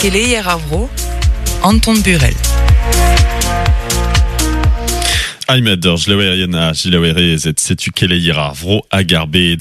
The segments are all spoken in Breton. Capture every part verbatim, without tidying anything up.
Keleier ar vro, Anton Burel. Aimed ur jlewerien a jilewerezet setu keleier ar vro hag ar bed.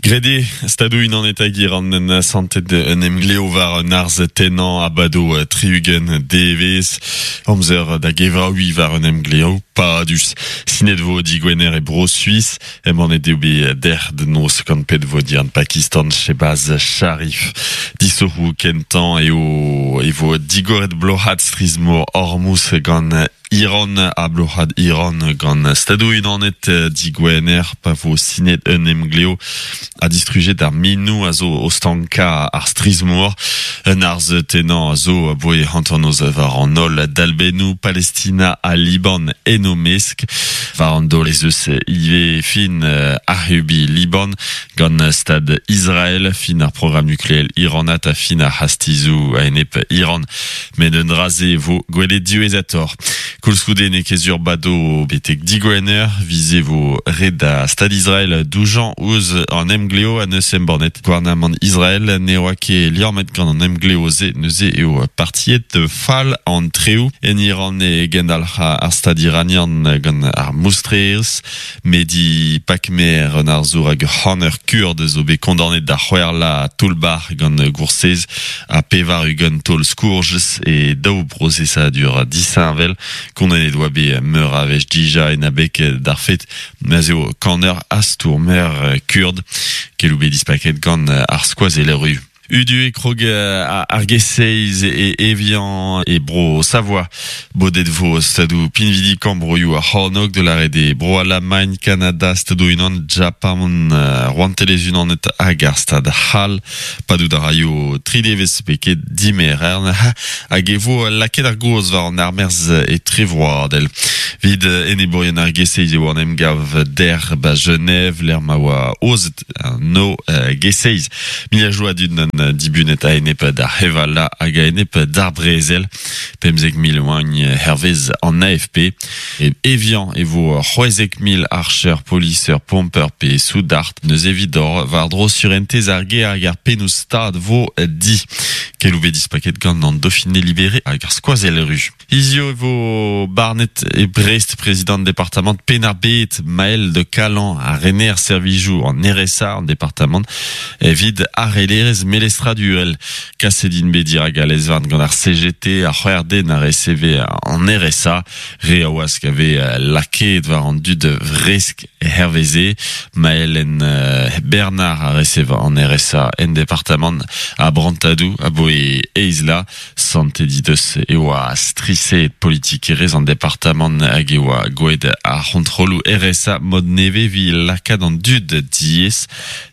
Grede, stadou unan etagir an en santet un emgleo war un arz tenan abado triugen devez, amzer da gevraoui war un emgleo padus. Sinet vo digwener e bro Suisse, em an edeobe der de noz gant pet vo dian Pakistan Shehbaz Sharif. Disorou kentan eo e vo digoret blohat strizmo Hormuz gant Iran a blohad Iran gant stadou unanet digwener pa vo sinet un emgleo a distrujet ar minou a zo ostanka ar strizmour un arz tenan a zo boe hanternoz war an ol dalbenou Palestina a Liban enomesk war an dol ez eus ive fin ahubi Liban gant stad Israel fin ar programme nucléel iranat a fin ar hastizou a enep Iran met un draze vo gwelet diwezhator. Koulskoude ne kezur bado betek digwener, vize vo red da stad Israel doujan ouz an emgleo a neus embornet. Gouarnamant Israel ne oa ket liammet gant an emgleo ze neuze eo partiet fall an treu. En Iran e gendalc'h ar stad iranian gant ar moustrez, Mehdi Pakmer an arzour hag c'hanner kurd zo bet kondaonet da c'hwerla toulbar gant goursez a pevar ugent taol skourjez e daou brosesadur disheñvel. Kondaonet oa bet meur a wech dija en abeg d'ar fet ma'z eo kaner astourmer kurd kelou bet dispaket gant ar skoazeller ru. Udu e krog ar geseiz e Evian e bro Savoie. Bodet vo stadou pinvidi kambroioù ar c'hornog de la rede bro Allemagne, Canada, stadou unan, Japan, Rouantelez unanet hag ar stad Hall. Padou da raio tridevez peket dimerern hag e vo laket ar goz war an armerz e trevroadel. Vid enebourien ar geseiz eo an emgav der ba Genève, l'er ma oa ozet no geseiz. Miliajoù a dud an dibunet a enep d'ar hevala hag a enep d'ar brezel. Pemzek mil oagn hervez an A F P. E Evian e vo c'hwezek mil archer, poliseur, pomper pe soudard. Neus evit or war dro surentez ar ger hag ar pennoù stad vo di. Kelou bet dispaket gant an Dauphiné libéré hag ar skoazell ru. Hizio e vo Barnet e Brest, président département Penn-ar-Bed, Maël de Calan a rener servijou en R S A en département evit arelerez melestradurel. Kasedin bedir hag alezvarn gant ar C G T ar c'hwerde na R C V en R S A. Re a oask ave laket war an dud vresk herveze. Maël en Bernard a R C V en R S A en département a Brantadou a boe eizla. Santé dideus e oa strise politik erez an département hag e oa goed ar c'hontrolou R S A mod neve vi lakad an dud diez.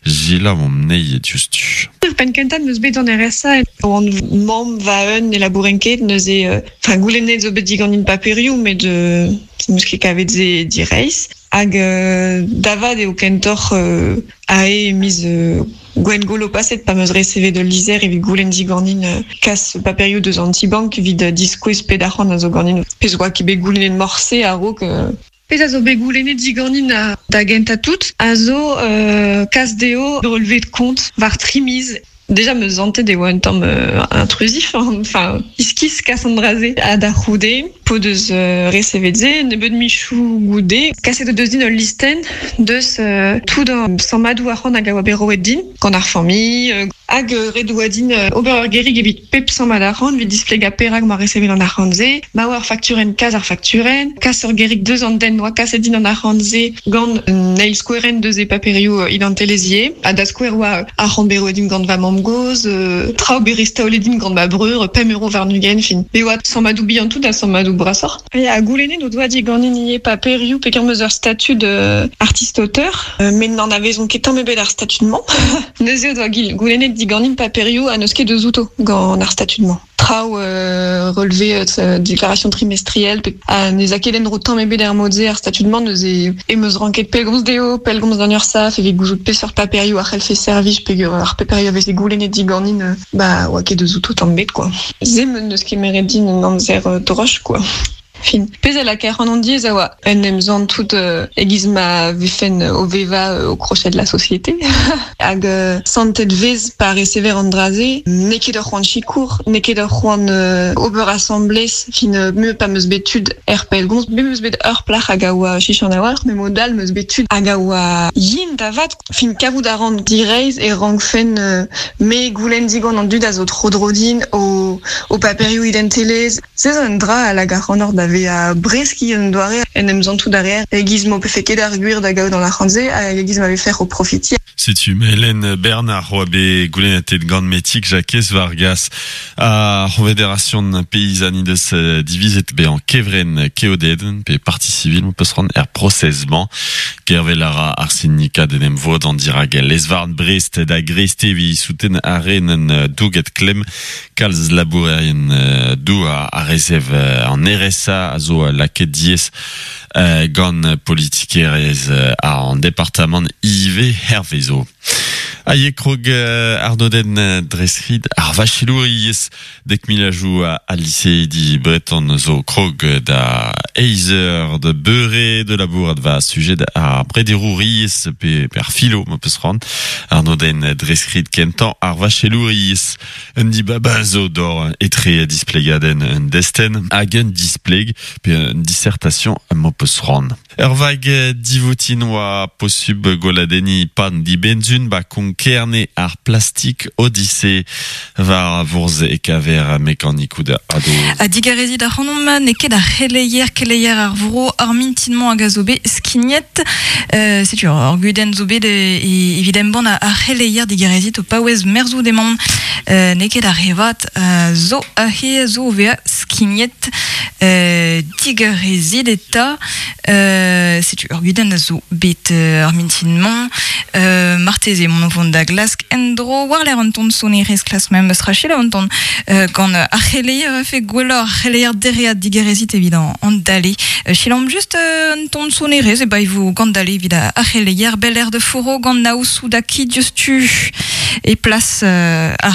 Gila mom nei diustu. Ur penn kentañ neus bet an R S A oan mamm va un e labouren ket neuze, euh, enfin, goulennet zo bet digant in paperioù met euh, neus ket kavet ze direizh. Hag, euh, davad eo kentoc'h, euh, ae miz, euh, gwen golo paset pa meus reseve de lizer evit goulenn diganin, euh, kas paperioù deus an ti-bank evit diskouez ped arc'hant a zo ganin. Pezh oa ket bet goulennet morse a-raok, euh, Pezh a zo bet goulennet diganin a, da gentañ tout, a zo, euh, kas dezho relevé de compte war tri miz. Déjà me zantet e oa un tamm, euh, intrusif, hein. Enfin, iskis kas an draze a da c'houde, po deus, euh, resevet ze, nebeut michou goude, kaset o deus din ul listen deus, euh, tout an sammadou arc'hant hag a oa bet roet din, gant ar familh, euh, hag, euh, ret oa din, euh, ober ur gerig evit pep sammad arc'hant, evit displega perak ma resevet an arc'hant ze, ma oa ar fakturenn kas ar fakturenn, kas ur gerig deus an den oa kaset din an arc'hant ze gant un eil skouerenn deus e paperioù, euh, identielezier, ha da skouer oa arc'hant bet roet din gant va mamm goz, euh, traoù bet restaolet din gant ma breur, pemp euro warn-ugent, fin. Be oa sammadou bihan tout ha sammadou brasoc'h. E a goulennet o doa diganin ivez paperioù peogwir meus ur statud, euh, artiste-auteur, euh, met n'en avezont ket tamm ebet ar statud-mañ. Neuze o doa gil-, goulennet diganin paperioù ha n'eus ket deus outo gant ar statud-mañ. Traoù, euh, relevé, euh, déclaration trimestrielle, pe, ha ne a ket en-dro tamm ebet er mod-se ar statud-mañ, neuze e meus ranket pellgomz dezho, pellgomz d'an URSSAF, evit gouzout peseurt paperioù a c'hellfe servij, peogwir ar paperioù a veze goulennet diganin, euh, ba, oa ket deus outo tamm ebet, quoi. Se me n'eus ket meret din un amzer, euh, droch, quoi. Fin, pezh a lakaer an diez a oa un emzant tout euh, egiz ma vefen o veva euh, au crochet de la société. Hag euh, santet vez pa recever an draze, n'eo ket ur c'hoant sikour, n'eo ket ur c'hoant euh, ober assemblez, fin euh, me pa meus bet tud er pellgomz, me meus bet ur plac'h hag a oa chichan a walc'h, me mod all meus bet tud hag a oa yin da vat, fin kavout a ran direiz e rankfen euh, me goulenn digant an dud a zo tro drodin o, o paperioù identelez. Se zo un dra a lag ar c'hannor da ve a breski un doare en em zantout derrière egiz mo pefe ket ar gwir da gaout an arc'hant-se hag egiz ma vefer o profiti. Setu Hélène Bernard oa bet goulennetet gant metik Jakez Vargas a Confédération paysanne deus divizet be an kevren keoded pe parti civil mo peus ran er prosezman Gervel ara ar syndikat en em vod an dirag lesvarn Brest da Greste vi souten aren douget klem kalz labourerien dou a, a rezev an R S A a zo laket diez euh, gant politikerez a an departement I V Hervezo. Aie krog euh, arnoden dreskrid ar vachelouriez dek milajou a, a lycée di breton zo krog da eizer de beure de labour ad va sujet a brederouriez pe per philo ma peus ran arnoden dreskrid kentan ar vachelouriez un di baba zo dor etre displegaden un desten hag un displeg pe un dissertation ma peus ran. Ur vag divoutin oa posub goladeni pan di benzun ba kon kerne ar plastik Odyssée var vourz e kaver mekanikou da ado. A digarezi da c'hanomp ne ket ar c'heleier keleier ar vro ar mintinman hag a zo bet skignet. Euh, setu ur gudenn zo bet e, evidemment bon ar c'heleier digarezit o paouez merzou demon. Euh, ne ket ar revat euh, zo a he zo vea skignet. Euh, digarezit eta. Euh, setu ur gudenn zo bet euh, ar mintinman. Euh, marteze mon vont da glask endro war l'air an ton sonerez klas mem eus rachel an ton euh, gant ar c'heleier fe gwelloc'h ar c'heleier dereat digarezit evit an, an dale. Euh, chilamp just euh, an ton sonerez e ba vo gant dale evit ar c'heleier bel air de foro gant naousou da ki diouzhtu e plas euh, ar